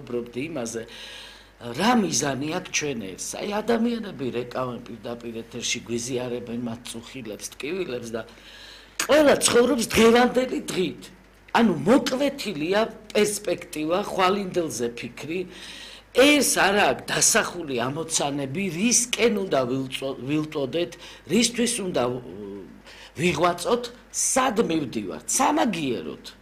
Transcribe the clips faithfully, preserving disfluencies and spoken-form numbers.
უბრალოდ იმაზე რა მიზანი აქვს ჩვენ ეს აი ადამიანები რეკავენ პირდაპირ ეთერში გვიზიარებენ მათ წუხილებს ტკივილებს და ყველა ცხოვრობს დღევანდელი დღით ანუ მოკლეთილია პერსპექტივა ხვალინდელზე ფიქრი ეს არა აქვს დასახული ამოცანები რისკენ უნდა ვილტოდეთ რისთვის უნდა ვიღვაწოთ სად მივდივართ სამაგიეროდ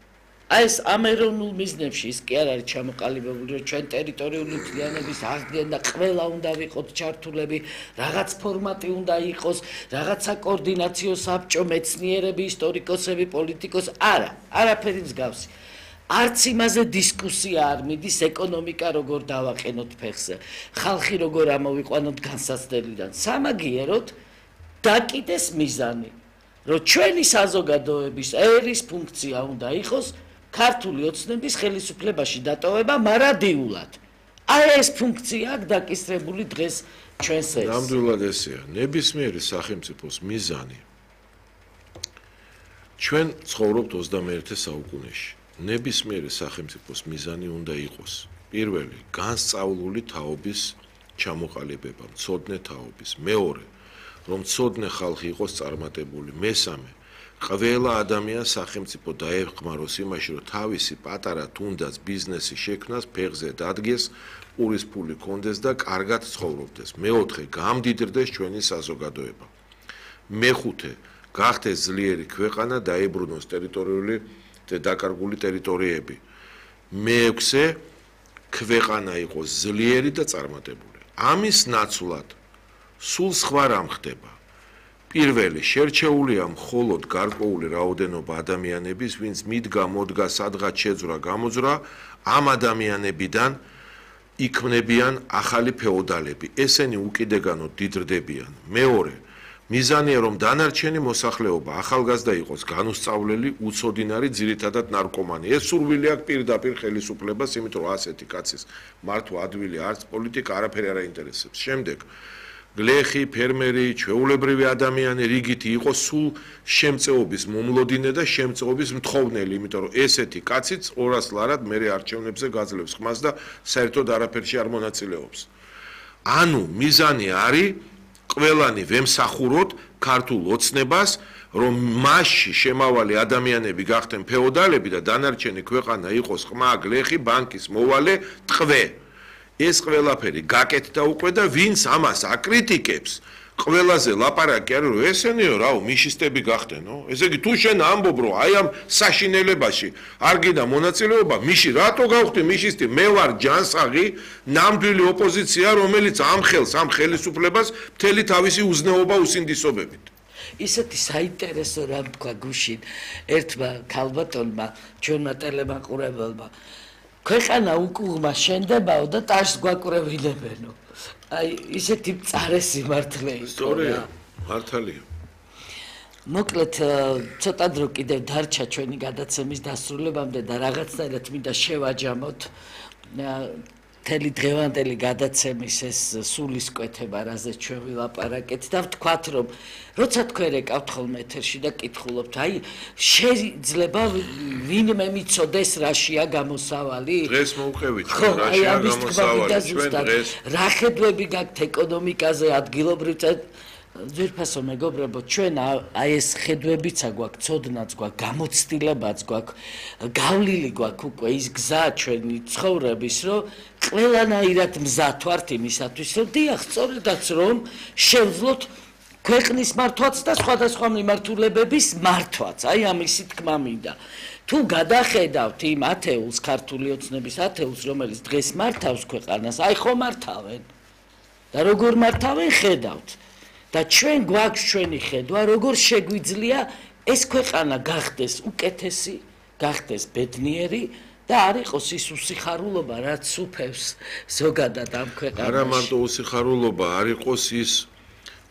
აი ეს ამერონულ მიზნებში ის კი არ არის ჩამოყალიბებული რომ ჩვენ ტერიტორიული მთლიანობის აღდგენ და ყველა უნდა ვიყოთ ჩართულები რაღაც ფორმატი უნდა იყოს რაღაცა კოორდინაციო საბჭო მეცნიერები ისტორიკოსები პოლიტიკოსი არა არაფერი მსგავსი არც იმაზე დისკუსია არ მიდის ეკონომიკა როგორ დავაყენოთ ფეხზე ხალხი როგორ ამოვიყვანოთ განსაცდელიდან სამაგიეროდ დაკიდეს მიზანი რომ ჩვენი საზოგადოების ერის ფუნქცია უნდა იყოს ქართული ოცნების ხელისუფლებაში დატოვება მარადიულად. აი ეს ფუნქცია აქვს დაკისრებული დღეს ჩვენს ეს. ნამდვილად ესეა. ნებისმიერი სახელმწიფოს მიზანი. ჩვენ ცხოვრობთ ოცდამეერთე საუკუნეში. ნებისმიერი სახელმწიფოს მიზანი უნდა იყოს. პირველი, განსწავლული თაობის ჩამოყალიბება, მცოდნე თაობის. მეორე, რომ მცოდნე ხალხი იყოს წარმატებული. მესამე, ყველა ადამიანს სახელმწიფო დაეხმაროს იმაში, რომ თავისი პატარა თუნდაც ბიზნესი შექმნას, ფეხზე დადგეს, ურის ფული კონდეს და კარგად ცხოვრობდეს. მეოთხე, გამდიდრდეს ჩვენი საზოგადოება. მეხუთე, გახდეს ძლიერი ქვეყანა, დაიბრუნოს ტერიტორიული და დაკარგული ტერიტორიები. მეექვსე, ქვეყანა იყოს ძლიერი და წარმატებული. ამის ნაცვლად სულ სხვა რამ ხდება. პირველი შერჩეულია მხოლოდ გარკვეული რაოდენობა ადამიანების, ვინც მიდგა, მოდგა, სადღაც შეძვრა, გამოძვრა, ამ ადამიანებიდან იქმნებიან ახალი ფეოდალები. ესენი უკიდეგანოდ დიდრდებიან. მეორე, მიზანია რომ დანარჩენი მოსახლეობა ახალგაზრდა იყოს, განუსწავლელი, უცოდინარი, ძირითადად ნარკომანი. ეს სურვილი აქვს პირდაპირ ხელისუფლებას, იმიტომ რომ ასეთი კაცის მართვა ადვილი არც პოლიტიკა არაფერი არ აინტერესებს. შემდეგ გლეხი, ფერმერი, ჩვეულებრივი ადამიანი რიგითი იყოს სულ შემწეობის მომლოდინე და შემწეობის მთხოვნელი, იმიტომ რომ ესეთი კაციც ორასლარად მერე არჩევნებზე გაძლევს ხმას და საერთოდ არაფერში არ მონაწილეობს. ანუ მიზანი არის ყველანი ვემსახუროთ ქართულ ოცნებას, რომ მასში შემავალი ადამიანები გახდნენ ფეოდალები და დანარჩენი ქვეყანა იყოს ყმა, გლეხი, ბანკის მოვალე, ტყვე. ეს ყველაფერი გაკეთდა უკვე და ვინც ამას აკრიტიკებს ყველაზე ლაპარაკი არის რომ ესენიო რაო მიშისტები გახდენო ესე იგი თუ შენ ამბობ რომ აი ამ საშინელებაში არ გინდა მონაწილეობა მიში რატო გავხდი მიშისტი მე ვარ ჯანსაღი ნამდვილი ოპოზიცია რომელიც ამ ხელს ამ ხელისუფლებას მთელი თავისი უზნეობა უსინდისობებით ისეთი საინტერესო რამ თქვა გუშინ ერთმა ქალბატონმა ჩვენმა ტელემაყურებელმა ქვეყანა უკუღმა შენდებაო და ტაშს გვაკურევინებენო. აი ისეთი მწარე სიმართლე იყო. სწორია, მართალია. მოკლედ ცოტა დრო კიდევ დარჩა ჩვენი გადაცემის დასრულებამდე და რაღაცნაირად მინდა შევაჯამოთ მთელი დღევანდელი გადაცემის ეს სულისკვეთება, რაზეც ჩვენ ვილაპარაკეთ და ვთქვათ, რომ როცა თქვენ ეკავთ ხოლმე ეთერში და კითხულობთ, აი შეიძლება ვინმე მიცოდეს რაშია გამოსავალი? დღეს მოვყევით, რაშია გამოსავალი, ჩვენ დღეს. რა ხედვები გაქვთ ეკონომიკაზე, ადგილობრივ ძვირფასო მეგობრებო, ჩვენ აი ეს ხედვებიც აგვაქვს, ცოდნაც გვაქვს, გამოცდილებაც გვაქვს, გავლილი გვაქვს უკვე ის გზა ჩვენი ცხოვრების, რომ ყველანაირად მზად ვართ იმისათვის, რომ დიახ, სწორედაც რომ შევძლოთ ქვეყნის მართვაც და სხვადასხვა მიმართულებების მართვაც. აი ამისი თქმა მინდა. თუ გადახედავთ იმ ათეულს, ქართული ოცნების ათეულს, რომელიც დღეს მართავს ქვეყანას, აი ხო მართავენ. და როგორ მართავენ, ხედავთ. და ჩვენ გვაქვს ჩვენი ხედვა, როგორ შეგვიძლია ეს ქვეყანა გახდეს უკეთესი, გახდეს ბედნიერი და არ იყოს ის უსიხარულობა, რაც უფევს ზოგადად ამ ქვეყანაში. არა მარტო უსიხარულობა, არ იყოს ის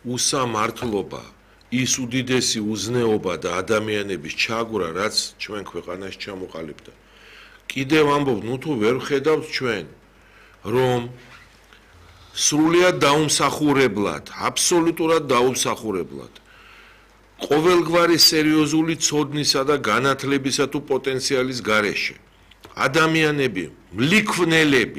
უსამართლობა, ის უდიდესი უზნეობა და ადამიანების ჩაგვრა, რაც ჩვენ ქვეყანაში ჩამოყალიბდა. კიდევ ამბობ, ნუ თუ ვერ ხედავთ ჩვენ, რომ სრულიად დაუმსახურებლად, აბსოლუტურად დაუმსახურებლად. ყოველგვარი სერიოზული ცოდნისა და განათლებისა თუ პოტენციალის გარეშე. ადამიანები, მლიქვნელები,